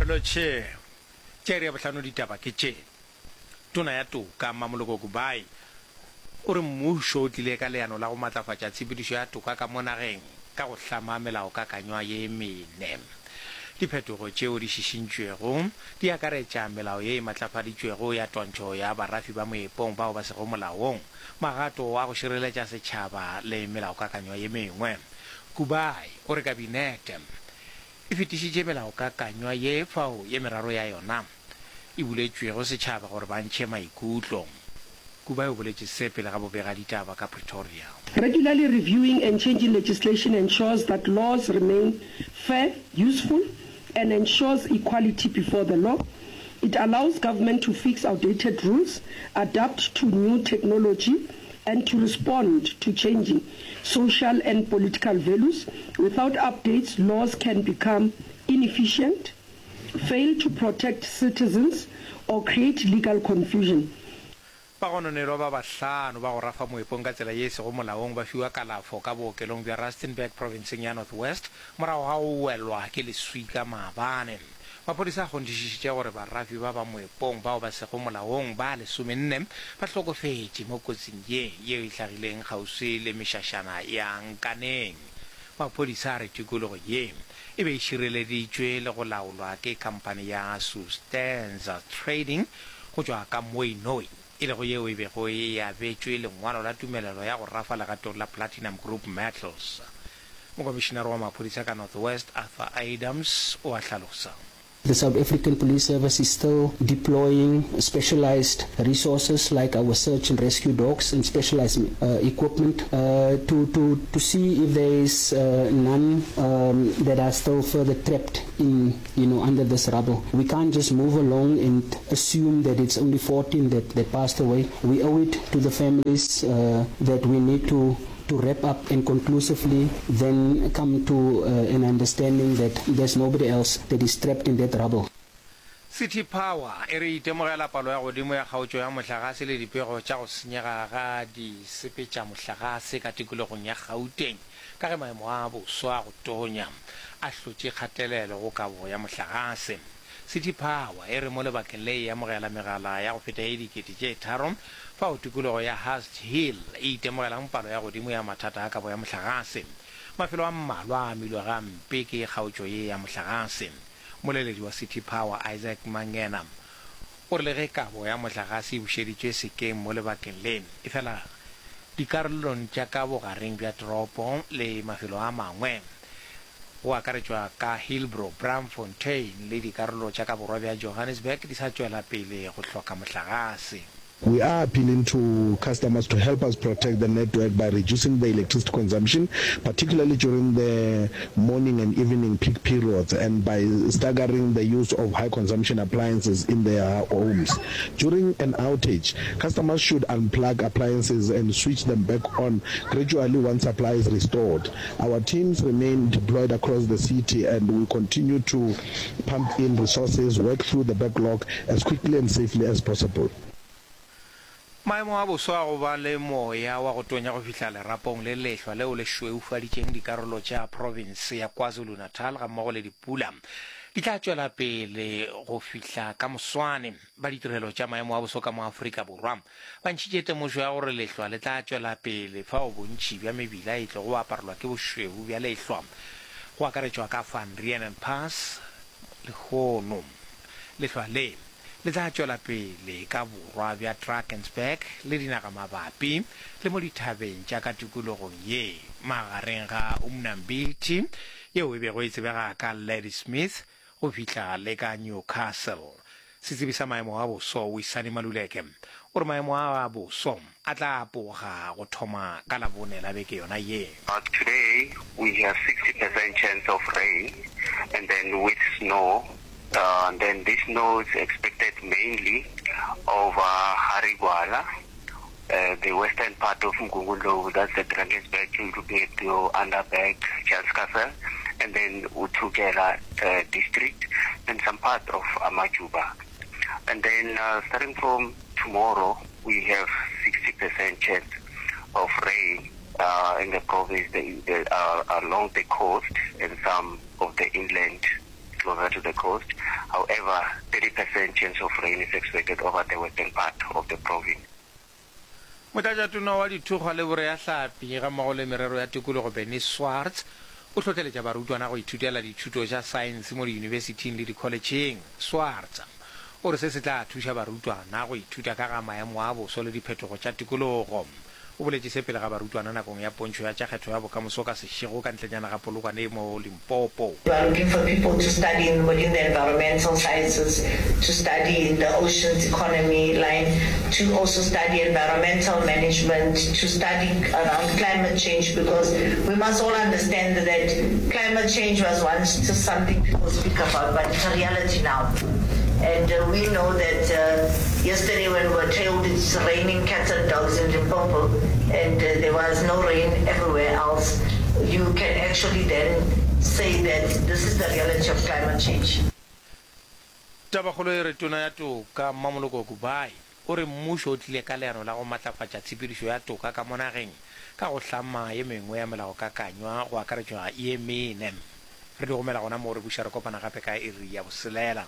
Lotšhe. Tša iri ya bohlano ditaba ke tše. Tona ya Toka, Mmamoloko Kubayi, o re mmušo o tlile ka leano la go matlafatša tshepedišo ya toka ka mo nageng ka go hlama melaokakanywa ye mene. Diphetogo tšeo di šišintšwego di akaretša melao ye e matlafaditšwego ya twantšho ya barafi ba moepong bao ba sego molaong, magato a go šireletša setšhaba le melaokakanywa ye mengwe. Kubayi o re Kabinete e fetišitše melaokakanywa ye fao ye meraro ya yona e buletšwego setšhaba gore ba ntšhe maikutlo. Kubayi o boletše se pele ga bobegaditaba ka Pretoria. Regularly reviewing and changing legislation ensures that laws remain fair, useful and ensures equality before the law. It allows government to fix outdated rules, adapt to new technology and to respond to changing social and political values. Without updates, laws can become inefficient, fail to protect citizens or create legal confusion. Bagononelwa ba bahlano ba go rafa moepong ka tsela ye e sego molaong ba fiwa kalafo ka bookelong bja Rustenburg profenseng ya North West morago ga go welwa ke leswika maabane. Maphodisa a kgonthišišitše gore barafi ba ba moepong bao ba sego molaong ba lesomenne ba hlokofetše mo kotsing ye yeo e hlagileng kgauswi le mešašana ya Nkaneng. Maphodisa a re tikologo ye e be e šireleditšwe le go laolwa ke khamphani ya Sustenza Trading go tšwa ka Mooinooi, e lego yeo e bego e abetšwe lengwalo la tumelelo ya go rafa legatong la Platinum Group Metals. Mokomišinare wa maphodisa ka North West, Arthur Adams, o a hlalosa. The South African Police Service is still deploying specialized resources like our search and rescue dogs and specialized equipment to, to, to see if there is none that are still further trapped in, you know, under this rubble. We can't just move along and assume that it's only 14 that, that passed away. We owe it to the families that we need to to wrap up and conclusively then come to an understanding that there's nobody else that is trapped in that rubble. City Power e re e itemogela palo ya godimo ya kgaotšo ya mohlagase le dipego tša go senyega ga disepetšamohlagase ka tikologong ya Gauteng ka ge maemo a boso a go tonya a hlotše kgatelelo go kabo ya mohlagase. City Power e re mo lebakeng le e amogela megala ya go feta ye dikete tše tharo fao tikologo ya Hurst Hill e itemogelang palo ya godimo ya mathata a kabo ya mohlagase. Mafelo a mmalwa a amilwe gampe ke kgaotšo ye ya mohlagase. Mmoleledi wa City Power Isaac Mangena o re le ge kabo ya mohlagase e bušeditšwe sekeng mo lebakeng le, efela dikarolong tša ka bogareng bja toropo le mafelo a mangwe, go akaretšwa ka Hillbrow, Braamfontein le dikarolo tša ka borwa bja Johannesburg di sa tšwela pele go hloka mohlagase. We are appealing to customers to help us protect the network by reducing the electricity consumption, particularly during the morning and evening peak periods, and by staggering the use of high-consumption appliances in their homes. During an outage, customers should unplug appliances and switch them back on gradually once supply is restored. Our teams remain deployed across the city and we continue to pump in resources, work through the backlog as quickly and safely as possible. Maemo a boso a go ba le moya wa go tonya go fihla lerapong le lehlwa leo le šweufaditšeng dikarolo tša profense ya KwaZulu-Natal gammogo le dipula di tla tšwela pele go fihla ka moswane. Ba ditirelo tša maemo a boso ka mo Afrika Borwa Ba ntšhitše temošo ya gore lehlwa le tla tšwela pele fao bontši bja mebila e tlogo aparelwa ke bošweu bja lehlwa, go akaretšwa ka Van Reenen Pass lehono. Lehlwa le le tla tšwela pele ka borwa bja Drakensberg le dinagamabapi le mo dithabeng tša ka tikologong ye magareng ga Umnambithi, yeo e bego e tsebega ka Ladysmith, go fihla le ka Newcastle. Setsebi sa maemo a boso Wisani Maluleke o re maemo a a boso a tla apoga go thoma ka Labone la beke yona ye. But today we have 60% chance of rain and then with snow and then this snow is expected mainly over Harry Gwala, the western part of Mgungundlovu, that's the Drakensberg, you're looking at your Underberg, Charles Castle, and then Uthukela district and some part of Amajuba. And then starting from tomorrow, we have 60% chance of rain uh, in the province the, the, uh, along the coast and some of the inland. closer to the coast. However, 30% chance of rain is expected over the western part of the province. Motlatšatona wa Dithokgwa le Boreahlapi gammogo le Merero ya Tikologo Bernice Swartz o hlohleletša barutwana go ithutela dithuto tša saense mo diyunibesithing le dikholetšheng. Swartz o re se se tla thuša barutwana go ithuta ka ga maemo a boso le diphetogo tša tikologo. O boletše se pele ga barutwana nakong ya pontšho ya tša kgetho ya bokamoso ka sešego ka ntlenyana ga Polokwane mo Limpopo. We are looking for people to study in within the environmental sciences, to study in the oceans economy line, to also study environmental management, to study around climate change because we must all understand that climate change was once just something people speak about but it's a reality now. And uh, we know that uh, yesterday when we were told it's raining cats and dogs in Limpopo and uh, there was no rain everywhere else, you can actually then say that this is the reality of climate change. Tabakgolo e re Tona ya Toka, Mmamoloko Kubayi, o re mmušo o tlile ka leano la go matlafatša tshepedišo ya toka ka mo nageng ka go hlama ye mengwe ya melaokakanywa go akaretšwa ye mene. Re di gomela gona moo re buša re kopana gape ka iri ya boselela.